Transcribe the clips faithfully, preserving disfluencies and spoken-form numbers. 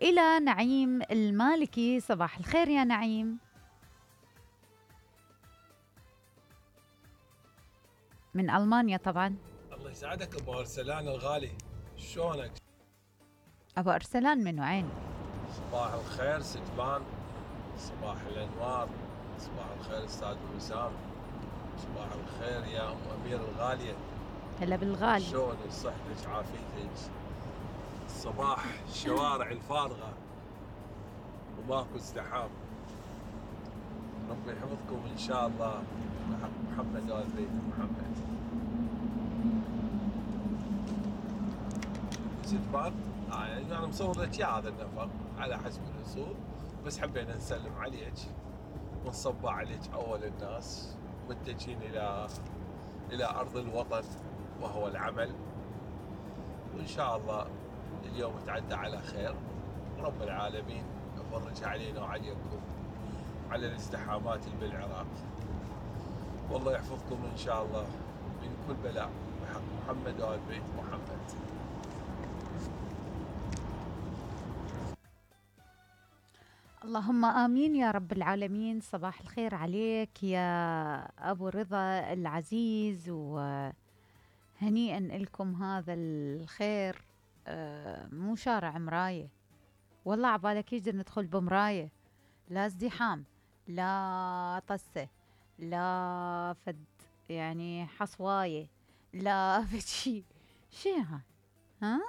إلى نعيم المالكي. صباح الخير يا نعيم. من ألمانيا طبعا. الله يسعدك أبو أرسلان الغالي، شلونك؟ أبو أرسلان من وين؟ صباح الخير ستبان، صباح الأنوار، صباح الخير أستاذ وسام، صباح الخير يا أم أمير الغالية. هلا بالغالي. شلونك؟ صحتك عافيتك؟ صباح الشوارع الفارغة وماكو ازدحام. ربي يحفظكم إن شاء الله بحق محمد وآل بيت محمد. ستبان؟ آه يعني أنا مصور لك يا هذا النفق على حسب الأصول، بس حبينا نسلم عليك ونصبح عليك أول الناس، متجهين إلى إلى أرض الوطن وهو العمل، وإن شاء الله اليوم يتعدى على خير، ورب العالمين يفرج علينا وعليكم على الازدحامات اللي بالعراق، والله يحفظكم إن شاء الله من كل بلاء بحق محمد وآل بيت محمد. اللهم آمين يا رب العالمين. صباح الخير عليك يا أبو رضا العزيز، وهنيئا لكم هذا الخير. آه مو شارع مراية، والله عبالك يجي ندخل بمراية، لا ازدحام، لا طسة، لا فد يعني حصواية، لا فد شي شي ها ها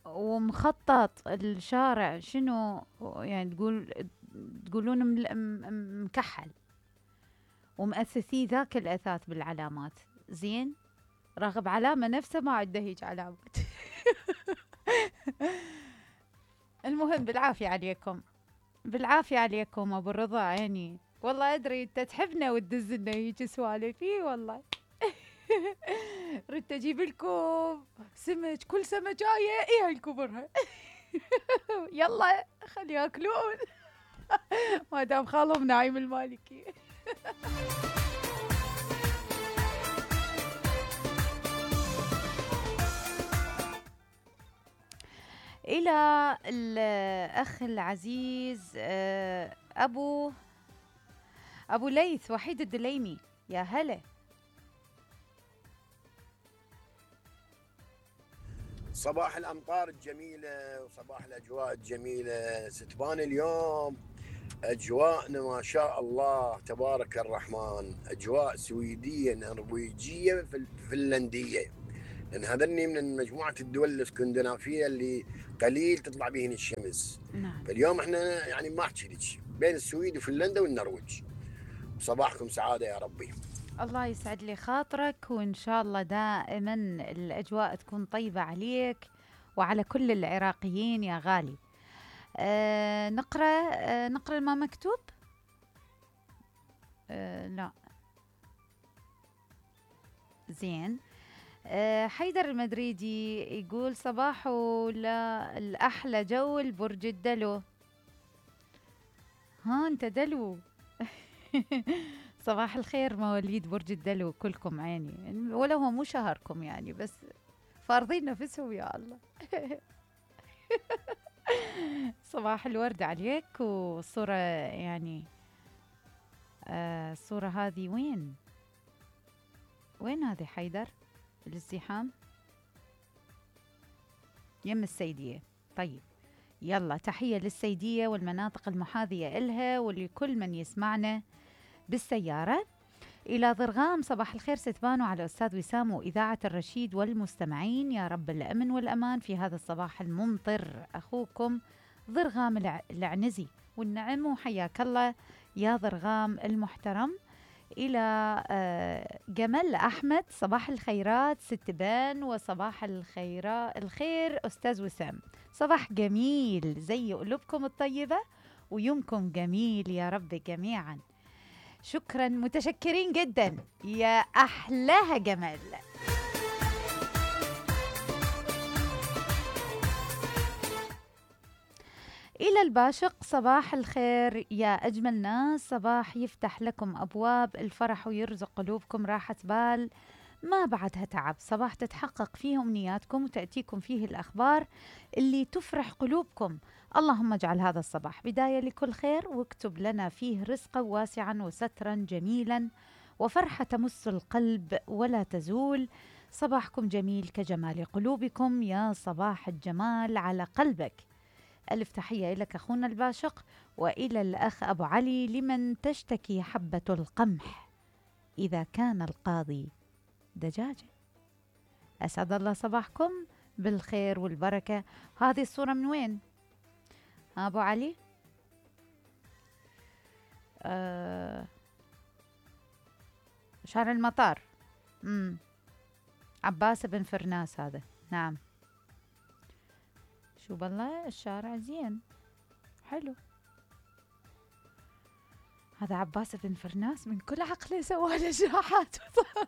ومخطط الشارع شنو يعني؟ تقول تقولون مكحل ومؤثثي ذاك الأثاث بالعلامات. زين، راغب علامة نفسه ما عنده هيج علامات. المهم بالعافية عليكم، بالعافية عليكم أبو الرضا عيني. والله أدري أنت تحبنا وتدز لنا هيك سوالف، إي والله. ردت أجيب لكم سمك، كل سمكاية إيه هالكبرها. يلا خلي ياكلون. ما دام خالهم نعيم المالكي. إلى الأخ العزيز أبو أبو ليث وحيد الدليمي، يا هلا. صباح الأمطار الجميلة وصباح الأجواء الجميلة. ستبان اليوم أجواءنا ما شاء الله تبارك الرحمن، أجواء سويدية نرويجية فنلندية، لأن هذني من مجموعة الدول الاسكندنافية اللي قليل تطلع بهن الشمس. نعم. فاليوم احنا يعني ما احكي لك بين السويد وفنلندا والنرويج. صباحكم سعادة يا ربي. الله يسعد لي خاطرك، وإن شاء الله دائما الأجواء تكون طيبة عليك وعلى كل العراقيين يا غالي. آه نقرأ آه نقرأ ما مكتوب. آه لا زين. آه حيدر المدريدي يقول صباحو لا الأحلى جو البرج الدلو. ها انت دلو. صباح الخير مواليد برج الدلو كلكم عيني، ولا هو مو شهركم يعني، بس فارضين نفسهم يا الله. صباح الورد عليك. والصورة يعني آه الصورة هذه وين وين هذه حيدر؟ الازدحام يم السيدية. طيب يلا تحية للسيدية والمناطق المحاذية إلها ولكل من يسمعنا بالسيارة. إلى ضرغام صباح الخير ستبانوا على أستاذ وسام وإذاعة الرشيد والمستمعين، يا رب الأمن والأمان في هذا الصباح الممطر. أخوكم ضرغام العنزي، والنعم وحياك الله يا ضرغام المحترم. إلى جمال أحمد صباح الخيرات ستبان، وصباح الخيرات الخير أستاذ وسام. صباح جميل زي قلوبكم الطيبة ويومكم جميل يا رب جميعا. شكرا متشكرين جدا يا أحلاها جمال. إلى الباشق صباح الخير يا أجمل ناس، صباح يفتح لكم أبواب الفرح ويرزق قلوبكم راحة بال ما بعدها تعب، صباح تتحقق فيه أمنياتكم وتأتيكم فيه الأخبار اللي تفرح قلوبكم. اللهم اجعل هذا الصباح بداية لكل خير، واكتب لنا فيه رزقا واسعا وسترا جميلا وفرحة تمس القلب ولا تزول. صباحكم جميل كجمال قلوبكم، يا صباح الجمال على قلبك. ألف تحية لك أخونا الباشق، وإلى الأخ أبو علي: لمن تشتكي حبة القمح إذا كان القاضي دجاجة. أسعد الله صباحكم بالخير والبركة. هذه الصورة من وين أبو علي؟ آه شارع المطار. مم. عباس بن فرناس هذا. نعم، شو بالله الشارع زين حلو. هذا عباس بن فرناس من كل عقله سوى نجاحات وصار